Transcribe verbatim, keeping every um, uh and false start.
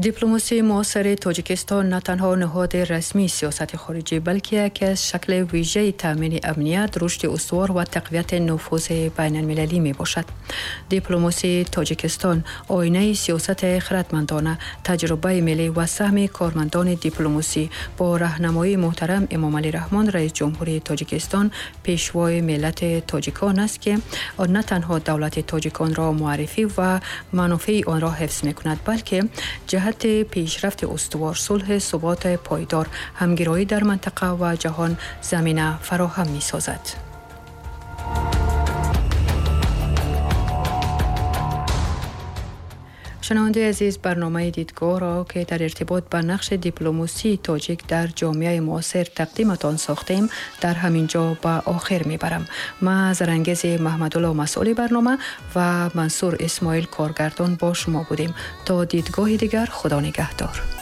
Дипломасии муосири Тоҷикистон на танҳо ниҳоди расмии сиёсати хориҷӣ, балки яке аз шакли вижаи таъмини амният, рушди устувор ва тақвияти нуфузи байналмилалӣ мебошад. Дипломасии Тоҷикистон оинаи сиёсати хиратмандона, таҷрибаи миллӣ ва саҳми кормандони дипломасӣ бо раҳнамоии муҳтарам Эмомалӣ Раҳмон, раис ҷумҳурии Тоҷикистон, пешвои миллати тоҷикон аст, ки на танҳо давлати тоҷиконро муаррифӣ ва манофеи онро ҳифз мекунад, балки ҷиҳати пешрафти устувор, сулҳи суботи пойдор, ҳамгироӣ дар минтақа ва ҷаҳон замина фароҳам месозад. Шунавандаи азиз, барномаи дидгоҳро, ки дар иртибот ба нақши дипломасии тоҷик дар ҷомеаи муосир тақдиматон сохтем, дар ҳамин ҷо ба охир мебарам. Ман Зарангези Маҳмадулло, масъули барнома, ва Мансур Исмоил, коргардон, бо шумо будем. То дидгоҳи дигар, Худо нигаҳдор.